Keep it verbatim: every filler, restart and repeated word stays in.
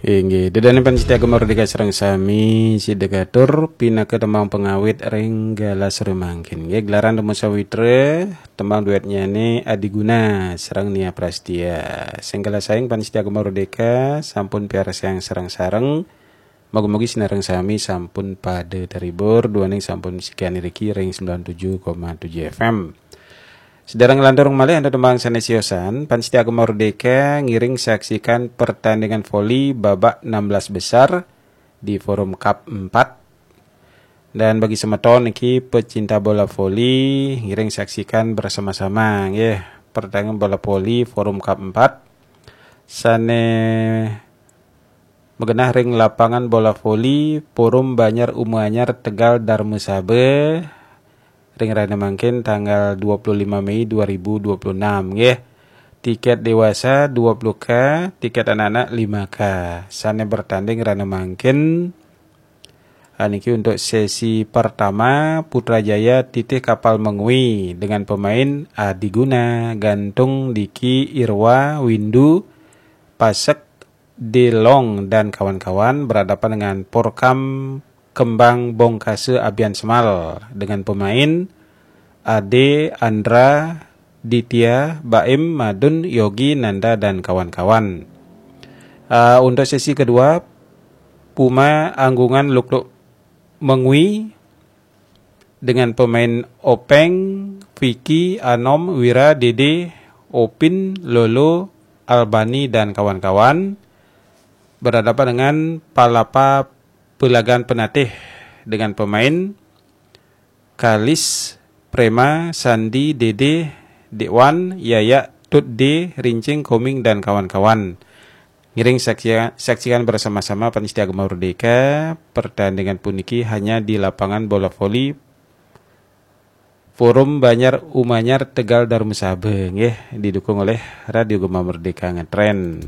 Inggih, ida dané pamiarsa Gema Merdeka sareng sami, sida katur pinaka tembang pangawit ring galah sore mangkin. Nggih, gelaran Temu Sawitra, tembang duetnyané Adi Guna sareng Nia Prastia. Sing kalah saking pamiarsa Gema Merdeka sampun piarsayang sareng-sareng. Mugi-mugi sinareng sami sampun pada terhibur duaning sampun misikan iriki ring sembilan tujuh koma tujuh F M. Sedaya nglantur malih antuk tembang sané siosan, pamiarsa Gema Merdeka ngiring saksikan pertandingan voli babak enam belas besar di Forum Cup empat. Dan bagi semeton niki pecinta bola voli, ngiring saksikan bersama-sama nggih pertandingan bola voli Forum Cup empat sané magenah ring lapangan bola voli Forum Banjar Uma Anyar, Tegal, Darmasaba, ring rahina mangkin tanggal dua puluh lima Mei dua ribu dua puluh enam nggih. Tiket dewasa dua puluh K, tiket anak-anak lima K. Sané bertanding rahina mangkin, ah, niki untuk sesi pertama, Putrajaya titih Kapal Mengwi dengan pemain Adi Guna, Gantung, Diki, Irwa, Windu, Pasek, Delong dan kawan-kawan berhadapan dengan Porkam Kembang Bongkasa Abian Semal dengan pemain Ade, Andra, Ditya, Baim, Madun, Yogi, Nanda dan kawan-kawan. Ah, untuk sesi kedua, Puma Anggungan Lukluk Mengwi dengan pemain Openg, Vicky, Anom, Wira, Dede, Opin, Lolo, Albani dan kawan-kawan berhadapan dengan Palapa Pelagan Penatih dengan pemain Kalis, Prema, Sandi, Dede, Dekwan, Yayak, Tut D, Rincing, Koming dan kawan-kawan. Ngiring saksia-, saksikan bersama-sama pamiarsa Gema Merdeka, pertandingan puniki hanya di lapangan bola voli Forum Banjar Uma Anyar, Tegal, Darmasaba nggih, didukung oleh Radio Gema Merdeka Ngetren.